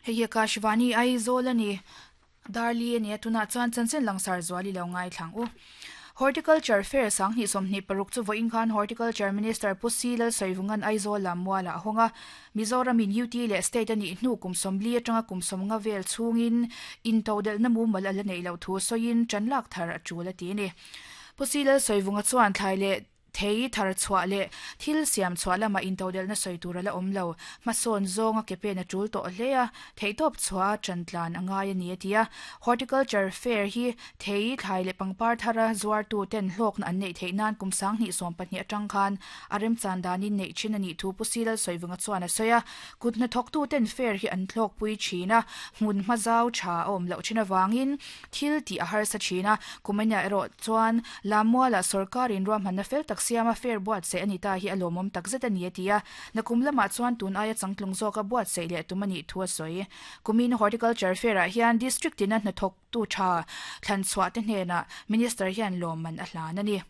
Hei hi Akashvani Aizawl a ni. Darli a ni a, tunah chuan chanchin langsar zual i lo ngaithlang u. Horticulture Fair 2026 chu vawiin khan Horticulture Minister Pu Si Lalsawivunga'n Aizawl lam mualah a hawng a. Mizoramin UT leh State a nih hnu kum 40 atanga kum 50 vel chhungin intodelhna mumal a la neih loh thu sawiin tanlak thar a tul a ti a ni. Pu Si Lalsawivunga chuan thlai leh Thei thar chhuah leh thil siam chhuah lamah intodelhna sawi tur a la awm lo. Hmasawn zawnga ke pen a tul tawh hle a, theihtawp chhuah a ṭan tlan a ngai a ni a ti a. Horticulture Fair hi thei, thlai leh pangpar thara zuartu ten hlawkna an neih theih nan kum 2020 aṭang khan a remchan danin neih ṭhin a nih thu Pu Silal Sawivunga chuan a sawi a. Kut hnathawktu ten fair hi an hlawkpui ṭhin a, hmun hma zau ṭha a awm loh ṭhin avangin Thil tih a harsa thin a, Kumainia erawh chuan Lammuala sawrkarin ruahmanna fel tak siama fair buatsaih a ni ta hi a lawmawm takzet a ni a ti a, nakum lamah chuan tun aia changtlung zawka buatsaih leh tum a nih thu a sawi. Kumin Horticulture Fair-ah hian District tina hnathawktu tha thlanchhuah te hnenah Minister hian lawmman a hlan a ni.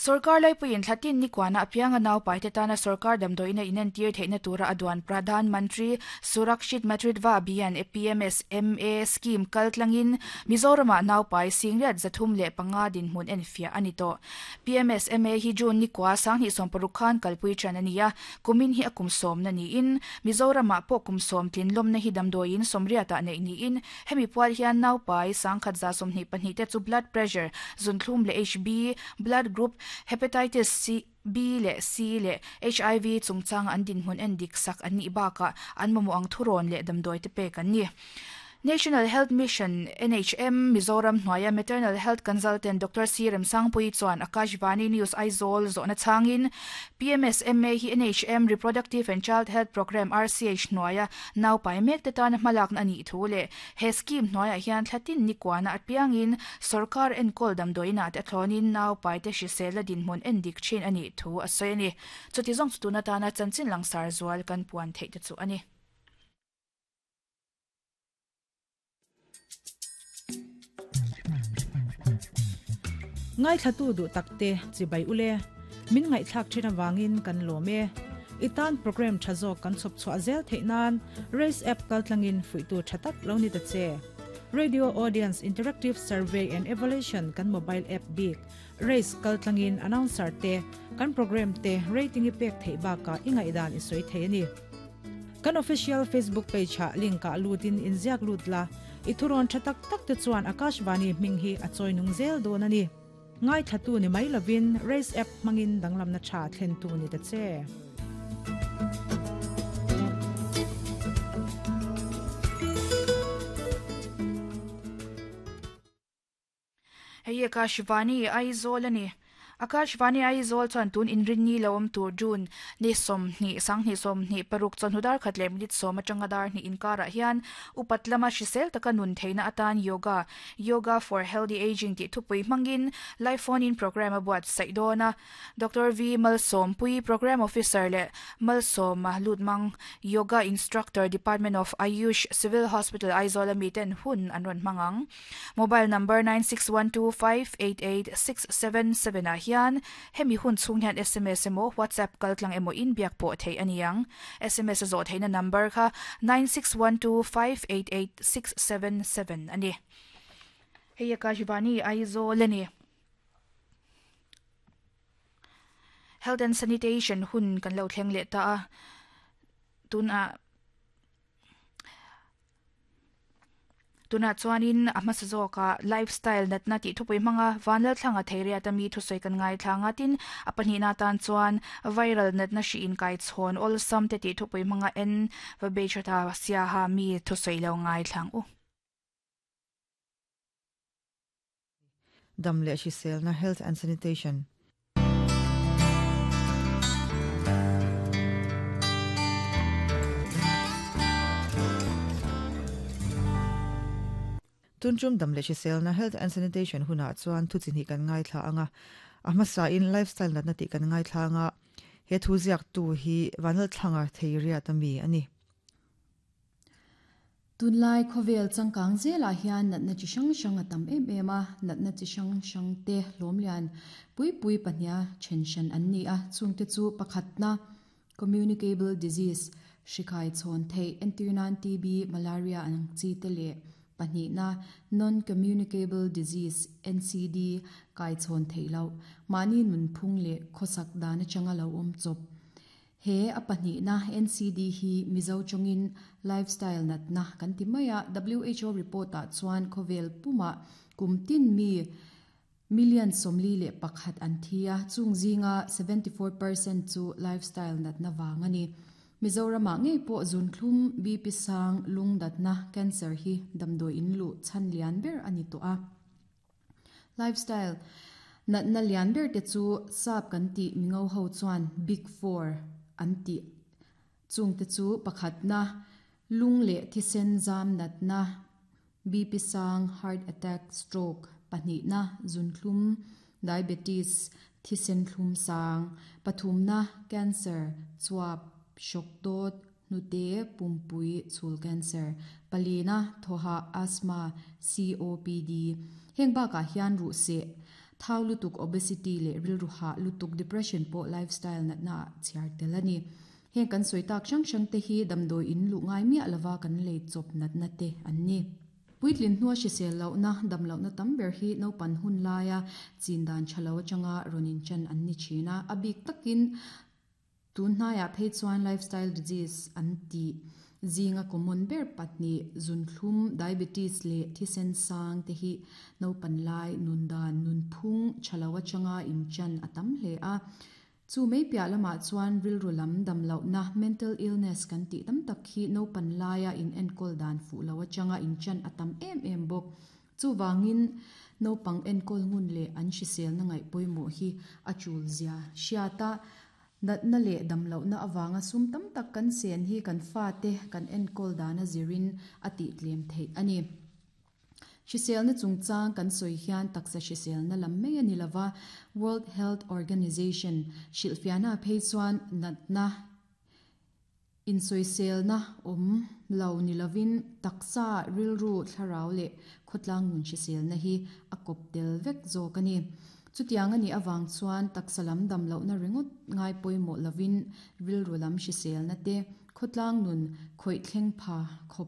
Sorkar laipuiin thla tin nikuana apianga naupaite tana sorkar damdawiin a inentir theihna tura a duan Pradhan Mantri Surakshit Matritva Abhiyan, PMSMA, scheme kal tlangin Mizoramah naupai singriat 305 dinhmun enfiah a ni tawh. PMSMA hi June nikua 2060 khan kalpui ṭan a ni a, kumin hi a kum sawmna niin Mizoramah pawh kum sawm tlinlawmna hi damdawiin sawmriatah neih niin Hemi pual hian naupai 1124 te chu blood pressure, zunthlum leh HB, blood group, hepatitis C, B leh C leh HIV chungchanga an dinhmun en dik sak an nih bakah an mamawh ang thurawn leh damdawi te pek an ni. National Health Mission, NHM, Mizoram hnuaia Maternal Health Consultant Doctor C Remsangpuii chuan Akashvani News Aizawl zawhna chhangin PMSMA hi NHM Reproductive and Child Health Programme, RCH, hnuaia Naupai mek te tana hmalakna a nih thu leh he scheme hnuaiah hian thla tin nikuana apiangin sorkar enkawl damdawiinah te a thlawnin naupaite hriselna dinhmun en dik thin a nih thu a sawi a ni. Chuti zawng chu tun atana chanchin langsar zual kan puan theih te chu a ni. Ngaithlatu duh takte chibai ule, min ngaihthlak thin avangin kan lawm e. I tan program tha zawk kan chhawp chhuah zel theih nan Race app kaltlangin fuihtu tha tak lo ni ta che. Radio Audience Interactive Survey and Evaluation kan mobile app bik Race kaltlangin announcer te, kan program te rating i pek theih bakah i ngaihdan i sawi thei a ni. Kan official Facebook page ah link ah lut in inziak lut la, i thurawn tha tak tak te chuan Akashvani hming hi a chawi nung zel dawn a ni. Ngaithlatu ni mai lovin Race app hmangin danglamna tha thlentu ni ta che. Hei hi Akashvani Aizawl a ni. Akashvani Aizawl chuan tun inrinni lo awm tur June ni 20, 2026 chawhnu dar khat leh minute sawm atanga dar hnih inkarah hian upat lama hrisel taka nun theihna atan Yoga, Yoga for Healthy Ageing tih thupui hmangin live phone in programme a buatsaih dawn a. Doctor V Malsawmpui, Programme Officer leh Malsawma Lutmang, Yoga Instructor, Department of Ayush, Civil Hospital, Aizawl a miten hun an rawn hmang ang. Mobile number 9612588677 ah hian hemi hun chhung hian sms emaw WhatsApp kaltlang emaw in biak pawh theih a ni ang. Sms a zawh theihna number kha 9612588677 a ni. Hei Akashvani Aizawl a ni. Health and Sanitation hun kan lo thleng leh ta a, tunah tunah chuanin a hmasa zawkah lifestyle natna tih thupui hmanga Vanlalthlanga Theiriat ami thusawi kan ngaithla ang a, tin a pahnihna atan chuan viral natna hri inkaichhawn awlsam te tih thupui hmanga en va bei tha ta siaha mi thusawi lo ngaithla ang u. Dam leh hriselna Health and Sanitation. Tuntum dam leh hriselna Health and Sanitation hunah chuan thu chi hnih kan ngaithla ang a, a hmasain Lifestyle natna tih kan ngaithla ang a, he thu ziaktu hi Vanlalthlanga Theiriat ami a ni. Tunlai khawvel changkang zelah hian natna chi hrang hrang a tam em em a, natna chi hrang hrang te hlawm lian pui pui pahniha then hran an ni a, chungte chu pakhatna, communicable disease, Hri khai chhawn theih, entirnan TB, Malaria ang chi te leh pahnihna Non-Communicable Disease, NCD, kai chhawn theih loh, mahni nunphung leh khawsak dan atanga lo awm chawp. He a pahnihna NCD hi Mizo tawngin lifestyle natna kan ti mai a, WHO report ah chuan khawvel pumah kum tin mi Million 41 an thi a, chung zinga 74% chu lifestyle natna vang a ni. Mizoramah ngei pawh zunthlum, BP sang, lung natna, cancer hi damdawi in luh chhan lian ber a ni tawh a. Lifestyle natna lian ber te chu sap kan tih mingo ho chuan big four an tih chung te chu pakhatna, lung leh thisen zam natna, BP sang, heart attack, stroke, pahnihna, zunthlum, diabetes, thisen thlum sang, pathumna, cancer, chuap, hrawk dawt, hnute, pumpui, chhul cancer, palina, thawha, asthma, COPD. Heng bakah hian ruh seh, thau lutuk, obesity leh rilru hah lutuk, depression pawh lifestyle natna ah chhiar tel a ni. Heng kan sawi tak hrang hrang te hi damdawi in luh ngai miah lova kan lei chawp natna te an ni. Puitlin hnua hrisel lohna, dam lohna tam ber hi naupan hun laia chin dan tha lo atanga rawn inchan an ni thin a, a bik takin tun hnaiah phei chuan lifestyle disease an tih zinga common ber pahnih zunthlum, diabetes leh thisen sang te hi naupan lai nun dan nunphung tha lo atanga inchan a tam hle a. Chu mai piah lamah chuan rilru lam dam lohna, mental illness, kan tih tam tak hi naupan laia in enkawl dan fuh lo atanga inchan a tam em em bawk. Chuvangin naupang enkawl ngun leh an hriselna ngaih pawimawh hi a tul zia hriat a, natna leh dam lohna avanga sum tam tak kan sen hi kan fate kan enkawl dana zirin a tih tlem theih a ni. Hriselna chungchang kan sawi hian taksa hriselna lam mai a ni lova, World Health Organization hrilhfiahna phei chuan natna insawiselna awm lo ni lovin taksa, rilru, thlarau leh khawtlang nun hriselna hi a kawp tel vek zawk a ni. Chutiang a nih avang chuan taksa lam dam lohna ringawt ngai pawimawh lovin rilru lam hriselna te, khawtlang nun khawih thleng pha khawp.